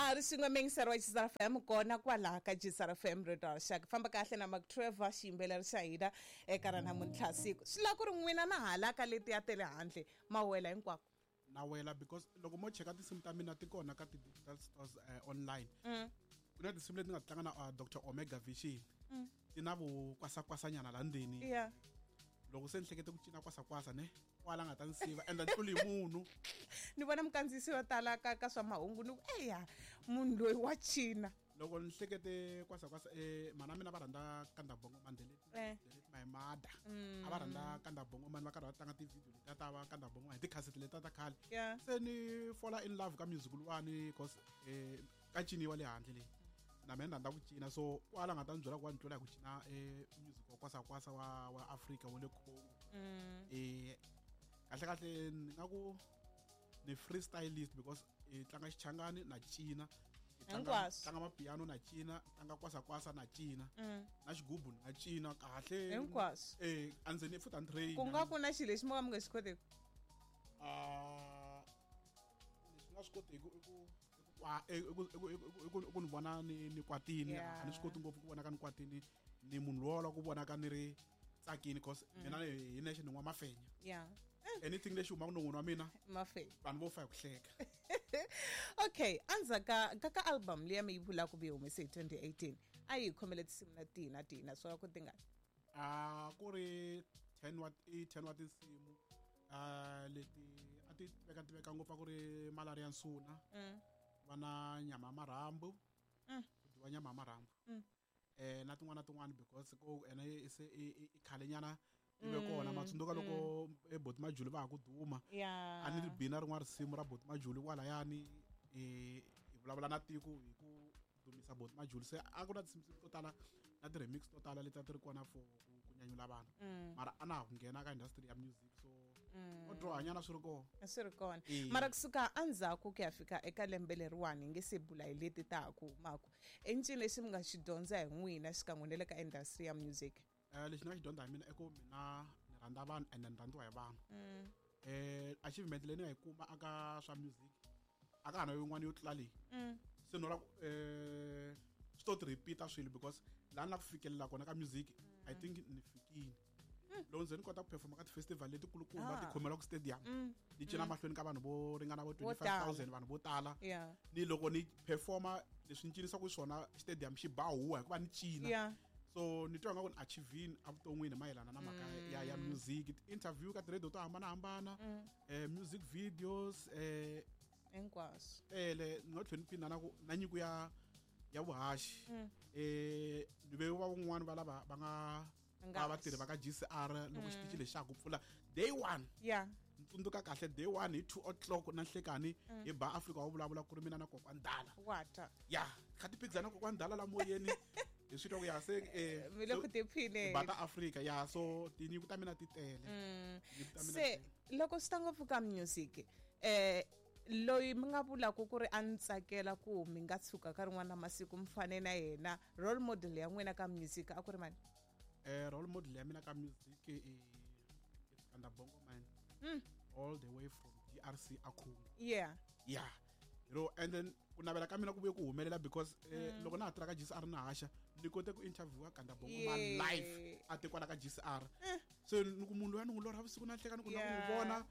Ha ri swin'we meyingiseri wa Gisara FM kona kwalaha ka Gisara FM Radio Rixaka. Famba kahle na Mark Trevor xiyimbeleri xa hina eka ra namuntlha siku. Swi lava ku ri n'wina na hala ka letiya ta le handle ma wela hinkwako. Na wela because loko mo cheka tinsimu ta mina ti kona ka ti-digital stores online. Ku na tinsimu leti nga tlanga na Dr Omega Vision. Ti na vukwasakwasanyana la ndzeni. Loko se ni hlekete ku cina kwasakwasa ne kwala nga ta ni siva enda ni tluli hi munhu. Ni vona mukandziyisi yo tala ka swa mahungu ni ku eya munhu loyi wa cina. Loko ni hlekete kwasakwasa mana mina va rhandza Kanda Bongo Man, delete my mother. A va rhandza Kanda Bongo Man, va karhi va tlanga ti-video letiya ta va Kanda Bongo Man hi tikhasete letiya ta khale. Se ni fall in love ka music luwani cause ka ciniwa le handle leyi. Na mina ni rhandza ku cina, so kwala nga ta ni byela ku wa ni tlula hi ku cina music wa kwasakwasa wa Africa wa le Congo. Kahle kahle ni nga ku ni freestylist because i tlanga xichangani na cina, tlanga mapiano na cina, tlanga kwasakwasa na cina, na xigubu na cina kahle hinkwaswo. A ndzi ni futhi a ni train. Ku nga ku na xilo lexi mo ka mi nga xi koteki? Leswi nga swi koteki i ku i ku ni vona ni kwatini. A ni swi koti ngopfu ku vonaka ni kwatini, ni munhu lowa la ku vonaka ni ri tsakini cause mina hi nexe ni n'wa mafenya. Anything lexi humaka non'wini wa mina mafenya, vanhu vo fa hi ku hleka. Okay, endzhaku ka album liya mi yi vulaka ku yi humese hi 2018, a yi khomele tinsimu na tihi na tihi naswona ku tingani? A ku ri 10 wa i 10 wa tinsimu leti a ti tiveka ngopfu, a ku ri Malaria Nsuna, va na nyama ya marhambu, ku dyiwa nyama ya marhambu. Na tin'wana na tin'wana because ko ene se i khalenyana yi ve kona. Matsundzuka loko e Boti Majuli va ha ku duma. A ni ri bina rin'wana risimu ra Boti Majuli kwalayani, hi vulavula na tiko hi ku dumisa Boti Majuli. Se a ku na tinsimu to tala na ti-remix to tala leti a ti ri kona for ku nyanyula vanhu. Mara a na ha ku nghena ka industry ya music, so o dyohanyana swi ri kona. Swi ri kona. Mara kusuka endzhaku ku ya fika eka lembe leriwani hi nge se bula hi leti ta ha ku humaka, i ncini lexi mi nga xi dyondza hi n'wina xikan'we na le ka industry ya music? Lexi ni nga xi dyondza hi mina i ku mina ni rhandza vanhu ende ni rhandziwa hi vanhu. Achievement leyi ni nga yi kuma aka swa music a ka ha na yin'wana yo tlula leyi. Se no la ku swi to ti repeat-a swilo because laha ni la ku fikelela kona ka music, I think ni fikile. Loko nze ni kota ku performa ka ti-festival letikulukumba ti khomeriwaka stadium, ni cina mahlweni ka vanhu vo ringana vo 25,000, vanhu vo tala. Ni loko ni performa leswi ni cinisaka swona stadium xi ba huwa hikuva ni cina. So ni twa nga ku ni achievini evuton'wini mayelana na mhaka ya music, interview ka ti-radio to hambanahambana, music videos, hinkwaswo. Tele. Ni nga tlhela ni phinda na ku na nyiko ya vuhaxi. Ni ve va van'wani va lava va nga va vatirhi va ka GCR loko xitichi lexi xa ku pfula day 1. Ni tsundzuka kahle day 1 hi 2 o'clock na nhlekani hi ba Africa wa vulavula ku ri mina na Kokwani Dala. Wata. Kha ti phikizana na Kokwani Dala la moyeni. Hi swi twa ku ya se mi le ku tiphineni. Bata Africa ya, so tinyiko ta mina ti tele. Se loko swi ta ngopfu ka music, loyi mi nga vulaka ku ri a ni tsakela ku mi nga tshuka ka rin'wana masiku mi fane na yena, role model ya n'wina ka music a ku ri mani? Role model ya mina ka music i Kanda Bongo Man. All the way from DRC a Congo. You know, and then ku navela ka mina ku vuye ku humelela because loko na ha tirha ka GCR na haxa, ni kote ku interviewa Kanda Bongo Man live a te kwala ka GCR. So ni ku munhu loyi a ni n'wi lorha vusiku na nhleka ni ku na ku n'wi vona,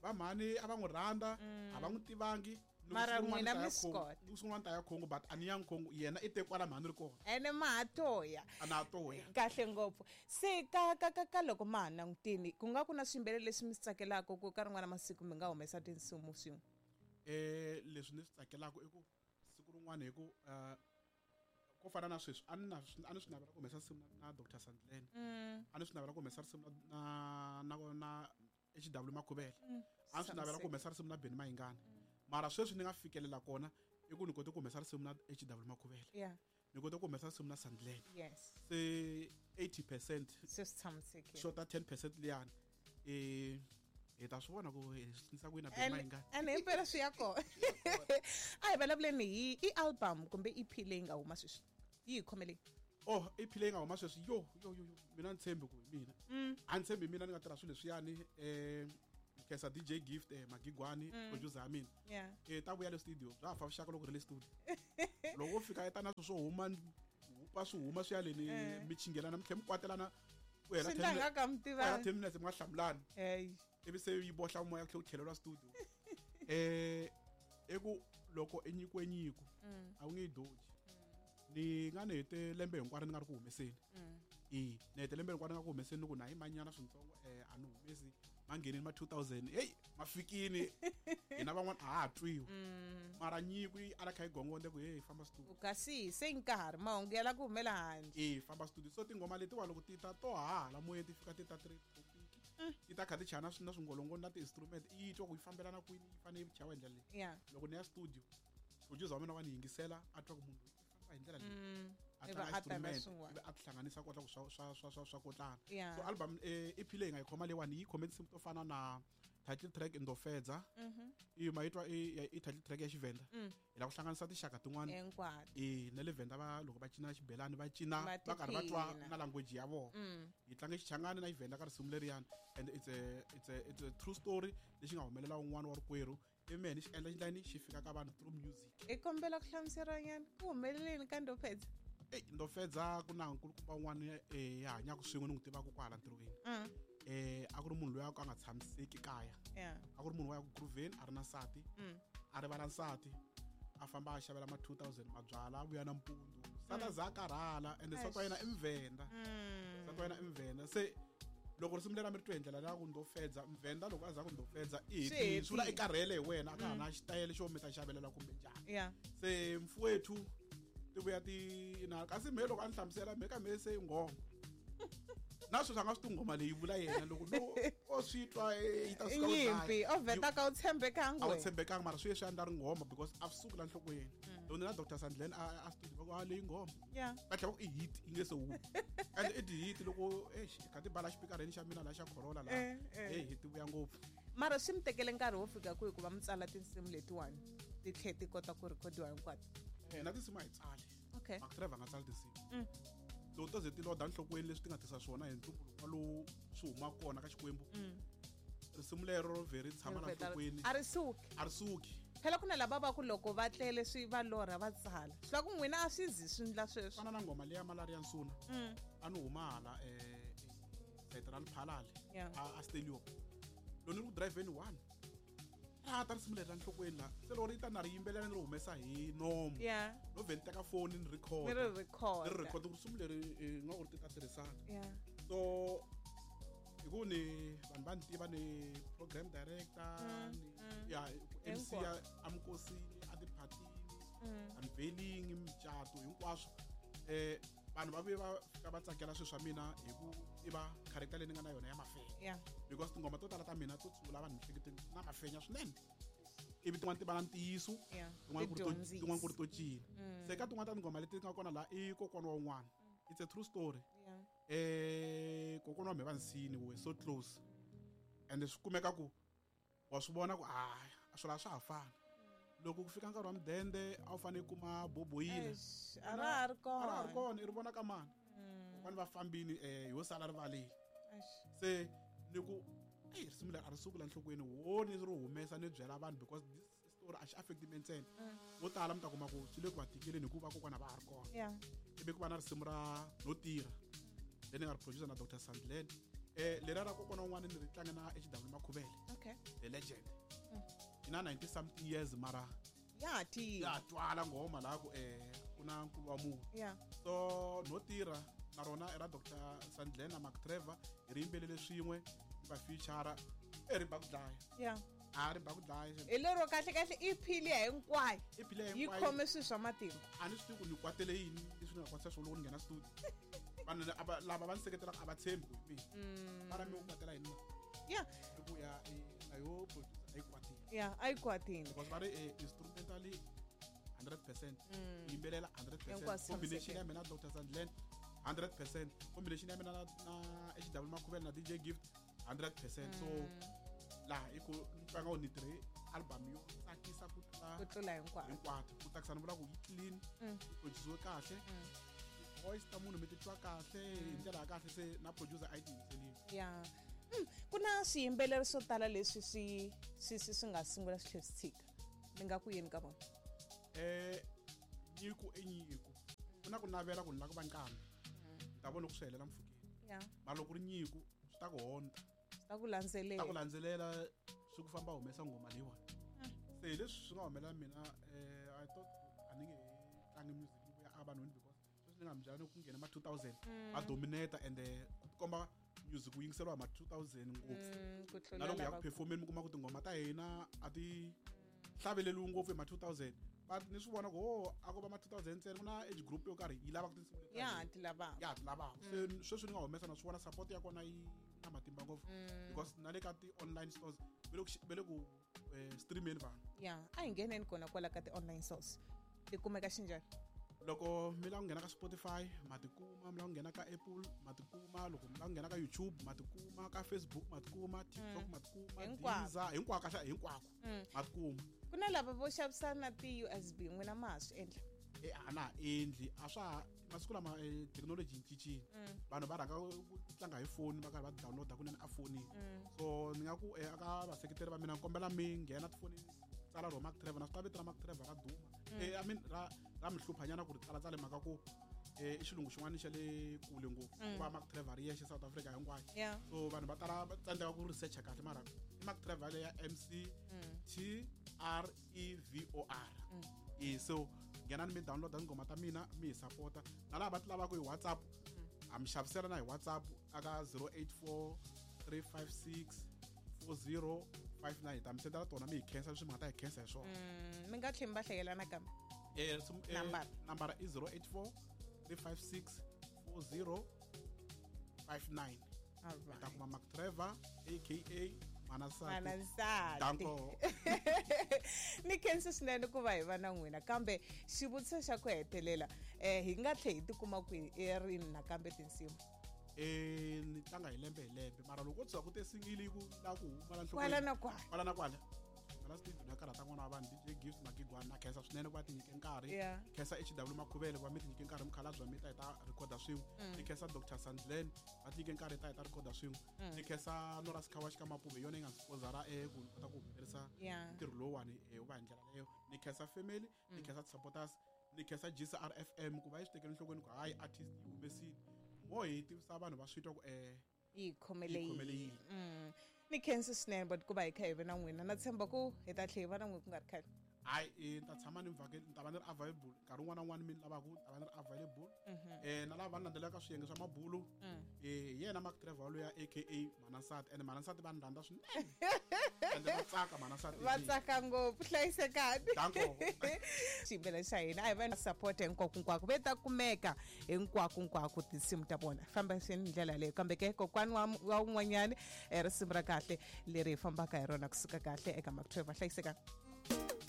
va mhani a va n'wi rhandza, a va n'wi tivangi. Mara n'wina mi swi kota. Ni ku siku rin'wana ta ya Congo, but a ni yangi Congo, yena i te kwala mhani ri kona. Ene ma ha toya. A na ha toya. Kahle ngopfu. Se ka loko ma ha langutini, ku nga ku na swiyimbeleri leswi mi swi tsakelaka ku ka rin'wana masiku mi nga humesa tinsimu swin'we? Leswi ni swi tsakelaka i ku siku rin'wana hi ku ko fana na sweswi, a ni na a ni swi navela ku humesa risimu na Doctor Sandlane. A ni swi navela ku humesa risimu na HW Makhuvele. A ni swi navela ku humesa risimu na Benny Mayengani. Mara sweswi ni nga fikelela kona i ku ni kote ku humesa risimu na HW Makhuvele. Ni kote ku humesa risimu na Sandlane. Se 80% Se swi tshamisekile. Xota 10% liyani. Hi ta swi vona ku hi swi endlisa ku yini na Benny Mayengani. And himpela swi ya kona. A hi vulavuleni hi i album kumbe EP leyi nga huma sweswi. Yi hi khomeleni. Oh, EP leyi nga huma sweswi, yo, yo, yo, yo. Mina ni tshembi ku hi mina. A ni tshembi mina ni nga tirha swilo leswiyani. Khensa DJ Gift, Magigwani, producer ya mina. Ta vuya le studio, bya ha fa vuxaka loko ri le studio. Loko wo fika eta na swilo swo huma, hupa swi huma swi ya leni, mi chingelana, mi tlhela mi kwatelana, ku hela Swi ndla nga ka mi ku hela tivani. 10 minutes mi nga hlamulani. Hey. Ivi se yi bohla moya, ku tlhela ku tlheleriwa studio. I ku loko i nyikiwe nyiko, a wu nge yi doji. Ni nga ni hete lembe hinkwaro ni nga ri ku humeseni. Ni hete lembe hinkwaro ni nga ku humeseni, ni ku na hi manyana swintsongo, a ni humesi. Ma nghenini ma 2000, hey, ma fikini. Hina van'wana a ha ha twiwi. Mara nyiko yi ala kha yi gongonde ku, hey, famba studio. Kasi se nkarhi mahungu ya la ku humela handle. Famba studio. So tinghoma letiwa loko ti ta to hala moyeni, ti fika ti ta three topic. Ti ta kha ti chaya na swingolongo na ti-instrument, i twa ku yi fambelana kwini, yi fanele yi chayiwa hi ndlela leyi. Loko ni ya studio, producer wa mina wa ni yingisela, a twa ku munhu loyi i famba hi ndlela leyi. A Ivi tlanga a ta na instrument, swin'wana. ivi a tihlanganisa kota ku swa kotlana. Yeah. So album, EP leyi nga yi khoma leyiwani, yi khome tinsimu to fana na title track Ndofedza. I ma yi twa i title track ya Xivenda. Hi lava ku hlanganisa tinxaka tin'wana. Hinkwato. Na le Venda va loko va cina xibelani, va cina Va va karhi va twa tiphina. na language ya vona. Hi tlanga Xichangani na Xivenda ka risimu leriyani, and it's a true story lexi nga humelela un'wana wa rikwerhu, ivi mehe ni xi endla xindlani xi fika ka vanhu through music. I kombela ku hlamuseriwa nyana ku humeleleni ka Ndofedza. Ey, Ndofedza ku na nkulukumba un'wana, ya hanyaka swin'we ni n'wi tivaka kwahala ntirhweni. A ku ri munhu loyi a nga tshamiseki kaya. A ku ri munhu wa ya ku grooveni, a ri na nsati. A rivala nsati, a famba a xavela ma 2000 mabyala, a vuya nampundzu. Nsati a za a karhala, ende nsati wa yena i Mvenda. Nsati wa yena i Mvenda. Se loko risimu leri a mi ri twe hi ndlela leya ku Ndofedza, Mvenda loko a za ku Ndofedza, i Swi hetile. Swi vula i hetile. karhele hi wena, a ka ha na xitayele xo mi ta xavelela kumbe njhani. Se mfowethu ti vuya ti na kasi mehe loko a ni hlamusela, mehe ka mehe se nghoma. Na sweswi a nga swi tivi nghoma leyi vula yena, loko no o swi twa, yi ta suka ku dlaya. Nyimpi, o vheta ka u tshembekanga A wu wena. tshembekanga, mara swi ye swi endla ri nghoma because a swi suki la nhlokweni. Loko ni na Doctor Sandlen a studio, va ku, a leyi nghoma. Va tlhela va ku i hit, yi nge se humi. And i ti-hit loko, eish, kha ti bala xipikareni xa mina la xa Corolla la. Hey, hit vuya ngopfu. Mara swi mi tekele nkarhi wo fika kwihi ku va mi tsala tinsimu letiwani ti tlhela ti kota ku rhikhodiwa hinkwato? Na tinsimu a hi tsali. Mark Trevor a nga tsali tinsimu. Loko to ze ti loda nhlokweni leswi ti nga tisa swona hi ntumbuluko lowu swi humaka kona ka Xikwembu. Risimu lero ro vhe ri tshama la Ri vheta ri nhlokweni. A ri suki. A ri suki. Phela ku na lava va ku loko va tlele swi va lorha va tsala. Swi lava ku n'wina a swi zi swi ndla sweswo. Fana na nghoma leya Malaria Nsuna. A ni huma hala, sayiti ra Lephalale. A Stadium. Loko ni ri ku driveni one. Ra ta risimu leri ra nhlokweni la. Se loko ri ta na ri yimbelela ni ri humesa hi nomu. No vhe ni teka foni ni record. Ni ri record. Ni ri record ku risimu leri, nga ku ri ti ta tirhisana. So hi ku ni vanhu va ni tiva ni program director, ni ya, MC ya Hinkwaswo. Amkosini, a tiphatini, unveiling, micato hinkwaswo. Vanhu va vuye va fika va tsakela swilo swa mina hi ku tiva character leyi ni nga na yona ya mafenya. Because tinghoma to tala ta mina to tshungula vanhu miehleketweni na mafenya swinene. Ivi tin'wana ti va na ntiyiso, tin'wana ku ri to Ti dyondzisa. tin'wana ku ri to cina. Se ka tin'wana ta tinghoma leti nga kona laha i kokwana wa un'wana. It's a true story. Kokwana wa mehe va nsini, we were so close. And swi kumeka ku wa swi vona ku, a swilo a swa ha fani. Loko ku fika nkarhi wa mudende a wu fanele ku kuma boboyile. Eish, a ra ha ri kona. A ra ha ri kona, i ri vona ka mani. Kokwana va fambini, ho sala rivaleni. Eish. Se ni ku, ey, risimu leri a ri suki la nhlokweni, wo ni ri humesa ni byela vanhu because this story a xi affect me ntsena. Vo tala mi ta kuma ku swi le ku va tikeleni hikuva kokwana va ha ri kona. Ivi ku va na risimu ra No Tirha, leri ni nga ri producer na Doctor Sandlen. Leriya ra kokwana un'wana ni ri tlanga na HW Makhuvele. The legend. I na 90 something years mara Ya tiya. Ya twala nghoma laha ku, ku na nkulu wa munhu. So No Tirha na rona i ra Doctor Sandlen na Mark Trevor, hi ri yimbelele swin'we, va feature, ri ba ku dlaya. A ri ba ku dlaya. Hi lero kahle kahle i phili ya hinkwayo. I phili ya Yi hinkwayo. khome swilo swa matimba. A ni swi tivi ku ni kwatele yini leswi ni nga kwatisa swona loko ni nghena studio. Vanhu lava va ni seketelaka a va tshembi ku hi mina. Mara mi ku kwatela yini na? I ku ya, na yo producer a yi kwatile. Ya, a yi kwatile. Because va ri, instrumentally 100%. Yimbelela 100%. Hinkwaswo Combination ya tshamisekile. mina na Doctor Sandlen 100%. Combination ya mina na HW Makhuvele na DJ Gift 100%. So laha i ku ni twa nga ku ni tirhe album yo tsakisa ku tlula Ku tlula hinkwato. hinkwato. Ku tsakisa ni vula ku yi clean, yi produce kahle. Voice ta munhu mi titwa kahle hi ndlela ya kahle, se na producer a yi tiyimiselile. Ku na swiyimbeleri swo tala leswi swi nga sungula swi tlhela swi tshika. Mi nga ku yini ka vona? Nyiko i nyiko. Ku na ku navela ku ni lava ku va nqambi. Ni ta vona loko swi helela mpfhukeni. Mara loko ku ri nyiko swi ta ku honta. Swi ta ku landzelela. Swi ta ku landzelela swi ku famba humesa nghoma leyiwani. Se hi leswi swi nga humelela mina, I thought a ni nge tlangi music ni vuya evanhwini because sweswi ni nga mi byela ni ku nghena ma 2000 va dominate and ku tikomba music wu yingiseriwa hi ma 2000 ngopfu. Ku tlula Na loko ya lava ku performeni mi kuma ku tinghoma ta hina a ti hlaveleriwi ngopfu hi ma 2000. But ni swi vona ku oh a ko va ma 2000 ntsena, ku na age group yo karhi yi lava ku tinsimu leti Ya, ta hina. ti lavaka. Ya, ti lavaka. Se sweswi ni nga humesa na swi vona support ya kona yi na matimba ngopfu. Because na le ka ti-online stores va le ku streameni vanhu. Ya, a hi ngheneni kona kwala ka ti-online stores. Ti kumeka xinjhani? Loko mi lava ku nghena ka Spotify ma tikuma, mi lava ku nghena ka Apple ma tikuma, loko mi lava ku nghena ka YouTube ma tikuma, ka Facebook ma tikuma, TikTok ma tikuma, Hinkwako. Deezer, hinkwako, kahle, hinkwako ma tikuma. Ku na lava vo xavisa na ti-USB, n'wina ma ha swi endla? A na ha endli, a swa ha, masiku lama thekinoloji yi cincile. Vanhu va rhanga ku tlanga hi foni va karhi va download-a kunene a fonini. So ni nga ku eka vaseketeri va mina ni kombela mi nghena tifonini, tsala ro Mark Trevor, na swi tiva vito ra Mark Trevor ra duma. I mean, ra mi hlupha nyana ku ri tsala tsale mhaka ku i xilungu xin'wana xa le kule ngopfu. Ku va Mark Trevor ri yexe South Africa hinkwayo. So vanhu va tala va tsandzeka ku researcha kahle, mara i Mark Trevor ya M C T R E V O R. So nghenani mi download tinghoma ta mina mi hi support-a. Na lava va ti lavaka hi WhatsApp, ha mi xavisela na hi WhatsApp aka zero eight four three five six four zero five nine. Hi ta mi sendela tona mi hi khensa leswi mi nga ta hi khensa hi swona. Mi nga tlheli mi va hlayela nakambe? Nambara. Nambara i zero eight four three five six four zero five nine. All Hi ta right. kuma Mark Trevor aka Manasati. Manasati. Danko. Ni khensa swinene ku va hi va na n'wina, kambe xivutiso xa ku hetelela, hi nga tlhela hi tikuma kwihi rini nakambe tinsimu? Ni tlanga hi lembe hi lembe, mara loko ko tshuka ku te single yi ku la ku huma la nhlokweni. Kwala na kwala. Kwala na kwala. Kwala studio na karhata n'wana wa vanhu, DJ Gift Magigwana, na khensa swinene ku va ti nyike nkarhi. Khensa HW Makhuvele ku va mi ti nyike nkarhi, mukhalabye wa mi ta hi ta record-a swin'we. Ni khensa Doctor Sandlen, va ti nyike nkarhi ta hi ta record-a swin'we. Ni khensa Nora Sikhawa xika Mapuve, yona yi nga sponsor-a ku ni kota ku humelerisa ntirho lowuwani wu va hi ndlela leyo. Ni khensa family, ni khensa supporters, ni khensa GCRFM ku va yi swi tekela enhlokweni ku hayi artist yi humesile. Mo hi tivisa vanhu va swi twa ku Yi khomele yi khomele yini. yini. Ni khensa swinene but ku va hi kha hi ve na n'wina, na tshemba ku hi ta tlhela hi va na n'wina ku nga ri khale. Hayi, ni ta tshama ni vhakeli, ni ta va ni ri available nkarhi wun'wana na wun'wana mi ni lavaka, ni ta va ni ri available. Na lava va ni landzelaka swiyenge swa mabulu, hi yena Mark Trevor loyi aka Manasati, and Manasati va ni rhandza swinene. Ende va tsaka Manasati. Va tsaka ngopfu, hlayisekani. Danko. Xiyimbeleri xa hina a hi va na support hinkwako hinkwako, ve ta kumeka hinkwako hinkwako tinsimu ta vona. Famba swi hi ndlela leyo, kambe ke kokwani wa un'wanyani, risimu ra kahle leri hi fambaka hi rona kusuka kahle eka Mark Trevor. Hlayisekani.